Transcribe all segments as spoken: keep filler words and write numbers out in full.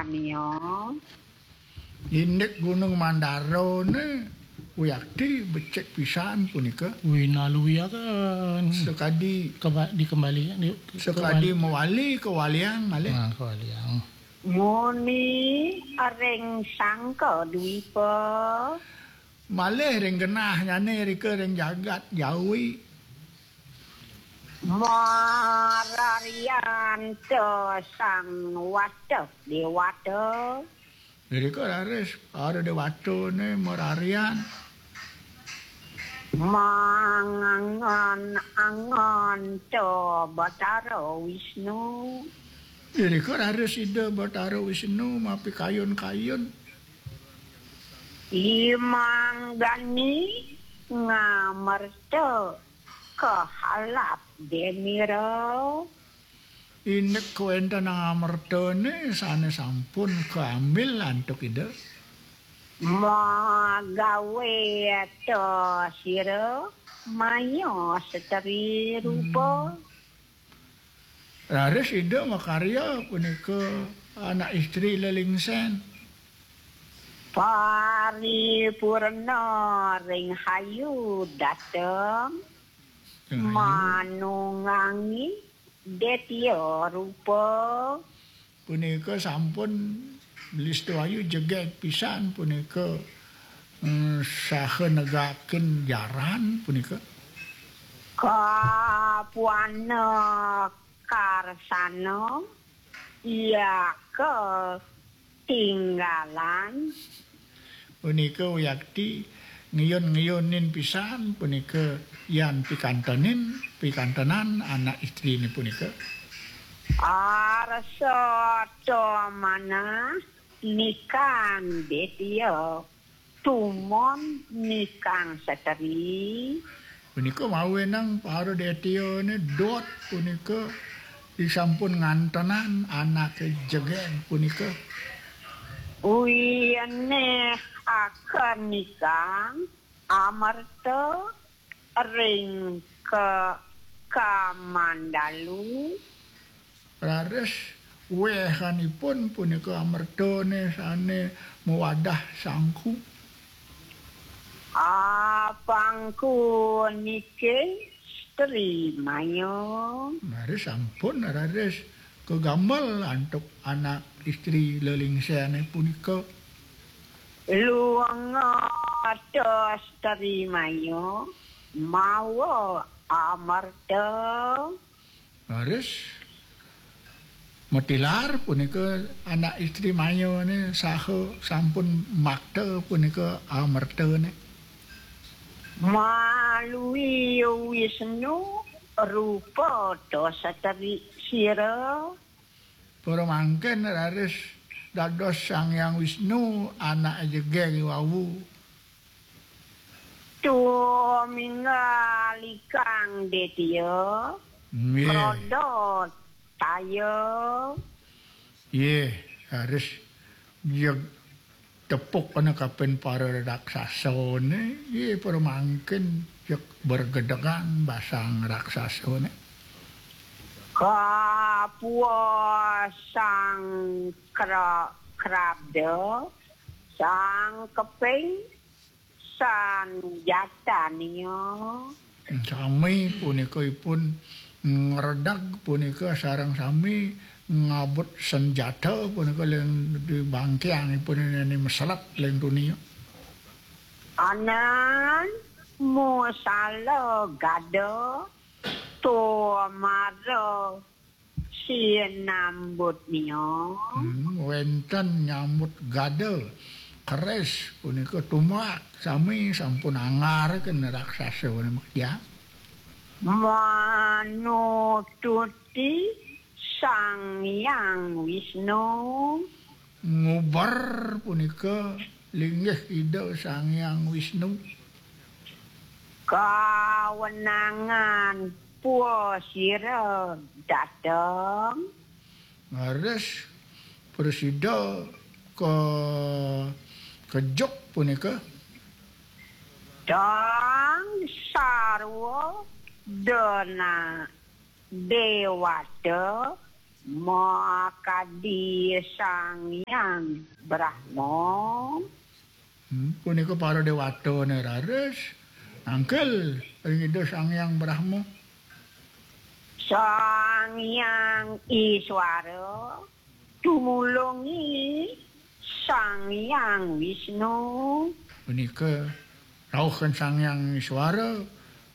Nia. Indik Gunung Mandara ne, wiakti becik pisan punika. Winaluyaken. Sekadi keba-, dikembali, di-, sekadi kembali. Mewali kewaliang malih. Nah, kewaliang. Muni ring Sangka Dwipa. Malih ring genahnyane rika ring jagat Jawi. Mararianta Sang Wata Dewata. Irika raris para dewatane mararian. Mangangan-angan ta Batara Wisnu. Irika raris Ida Batara Wisnu mapikayun-kayun. Imanggani ngamerta kahalap denira. Indik kawéntenan amertane sane sampun kaambil antuk Ida. Magawe ta sira maya seteri rupa. Hmm. Raris Ida makarya punika anak istri lelingsen. Paripurna ring hayu dateng. Ring hayu. Manunggangi detya rupa. Punika sampun Listu Ayu jegeg pisan punika, mm, saha negakin jaran punika. Kapuana karsana, iya ka tinggalan. Punika wiakti ngiyun-ngiyunin pisan punika yan pikantenin, pikantenan anak istrine punika. Arsa ta manah nikang detya, tumon nikang seteri. Punika mawinan para detyane dot punika disampun ngantenan anake jegeg punika. Wieneh akan nikang amerta ring ka-, kamandalu. Raris wehanipun punika amertane sane mawadah sangku. Apangku nike Sri Maya. Raris sampun raris kagamel antuk anak istri lelingsene punika. Luenga ta Sri Maya mawa amerta. Raris matilar punika anak istri mayane saha sampun makta punika amertane. Malui Wisnu rupa ta seteri sira. Para mangkin raris dados Sang Hyang Wisnu anak jegeg wau. Tuminggalikang detya. Nggih. Krodot taya. Nggih, harus jeg tepuk ana kapin para raksasane, nggih, para mangkin jeg bergedegan basang raksasane. Kapuasang kra-, krabda, sang keping sanjatania. Sami punika ipun ngredag punika sareng sami ngabut senjata punika len di bangkiang ipun ini meselat len dunia. Anan musala gada tumara sinambut nia. Hmm, wenten nyambut gada keris punika tumbak sami sampun anggar kena raksasa punika. Manututi Sang Hyang Wisnu. Nguber punika linggih Ida Sang Hyang Wisnu. Kawenangan pua sira dateng. Leres prasida ka kejuk punika. Tang sarwa dena dewata Makadi Sang Hyang Brahma. Hmm, punika para dewatane raris nangkil ring Ida Sang Hyang Brahma. Sang Hyang Iswara tumulungi Sang Hyang Wisnu. Punika rauh kan Sang Hyang Iswara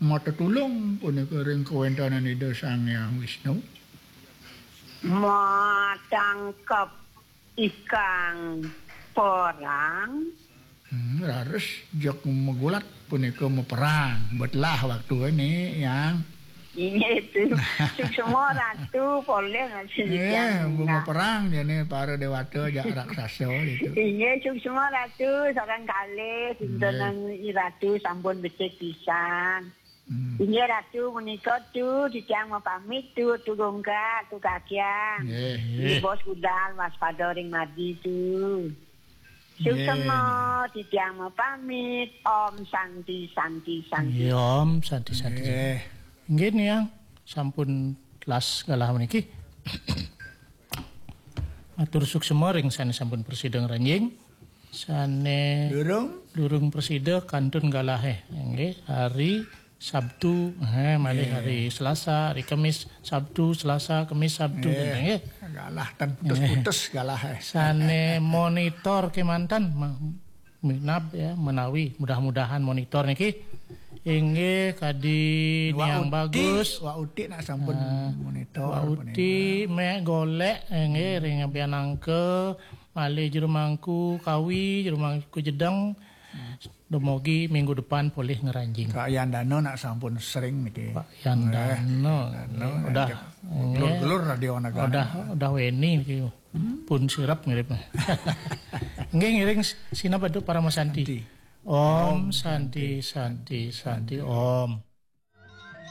matetulung punika ring kawentenan Ida Sang Hyang Wisnu. Matangkep ikang perang. Hmm, raris jeg magulat punika maperang. Betlah waktune, Yang. Inggih, tu. Suksma Ratu, polih masih Eh, maperang jane para dewata jak raksasa gitu. Inggih, suksma Ratu, sareng kalih, dinten Ratu sampun becik pisan. Hmm. Inggih Ratu, menika tu titiang mapamit tu, tu Gungkak, tu Kakyang. Nggih, nggih. Bos budal waspada ring madi tu. Suksma titiang mapamit. Om Santi, Santi, Santi. Nggih, Om Santi, Santi. Nggih. Nggih, Niang, sampun las galah meniki. Matur suksma ring sane sampun prasida ngranjing. Sane durung prasida kantun galahe. Nggih, hari Sabtu, eh, malih hari Selasa, hari Kemis, Sabtu, Selasa, Kemis, Sabtu, nggih. Galah tan putus-putus galah, eh. Sane monitor kemanten, ma-, minab ya, menawi mudah-mudahan monitor niki inggih kadi Niang Bagus. Wak Uti nak sampun monitor. Wak Uti mek golek, eh, nggih, ring Abianangka, malih Jero Mangku Kawi, Jero Mangku Jedeng. Dumogi minggu depan polih ngranjing. Pak Yandano nak sampun sering niki. Pak Yandano. Yandano, udah, nggih. Gelur-gelur Radio Nagara. Udah, udah weni niki. Pun sirep mirip. Nggih, ngiring sineb adu Parama Santi. Santi. Om Santi, Santi, Santi, Om.